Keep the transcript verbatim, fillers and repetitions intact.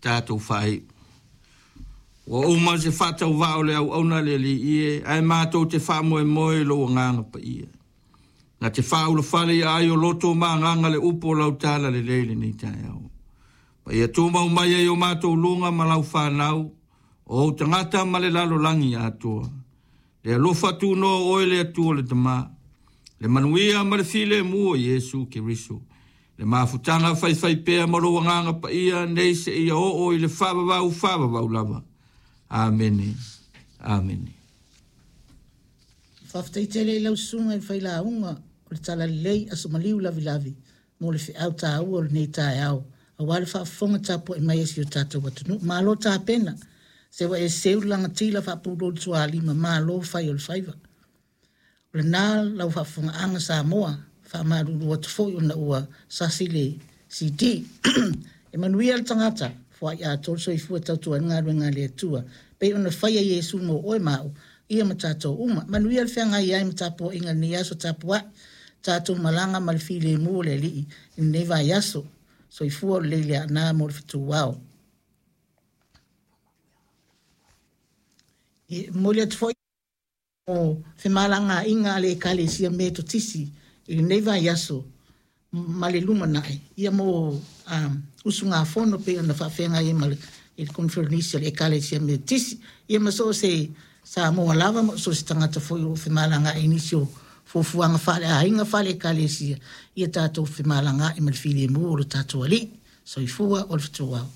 Tatou faaiu. Ua uma se faatauvaa o le auauna le Alii e, ae matou te faamoemoe i lou agaga paia. Na te faaulafale ia ai o loto ma agaga le upu o lau tala lelei lenei taeao. Ma ia tumau mai ai o matou luga ma lau fanau, o ou tagata ma le lalolagi atoa. Le alofa tunoa o oe le Atua le Tama, le manuia ma le filemu o Iesu Keriso. Le mafutaga faifaipea ma lou agaga paia nei seia oo i le faavavau faavavau lava. Amene. Amene. Faafetai tele i lau susuga i le failauga o le Talalelei Aso Maliu Lavilavi mo le feau taua o lenei taeao aua le faafofoga tapuai mai a si o tatou atunuu. Malo tapena, se ua e seu le lagatila faapulou le tualima, malo fai o le faiva. O lena lau faafofogaaga Samoa, faamalulu atu foi ona ua sasi le C D. E manuia le tagata, foai atoa le soifua tautua ai le galuega a le Atua, pei ona faia Iesu mo oe ma au, ia ma tatou uma. Manuia le feagai ai ma tapuaiga i lenei aso tapuai, tatou malaga ma le filemu o le Alii i lenei vaiaso. Soifua o lelei le aana mo le fetuao. E momoli atu foi o femalagaaiga a le Ekalesia Metotisi i lenei vaiaso ma le lumanai, ia mo um, usugafono pei ona faafeagai ai ma le i le konferenisi a le Ekalesia Metotisi, ia ma so o se Samoa lava ma so o se tagata foi o femalagaai i nisi o fuafuaga faaleaiga faale-ekalesia, ia tatou femalagaai ma le filemu o le tatou Alii. Soifua o le fetuao.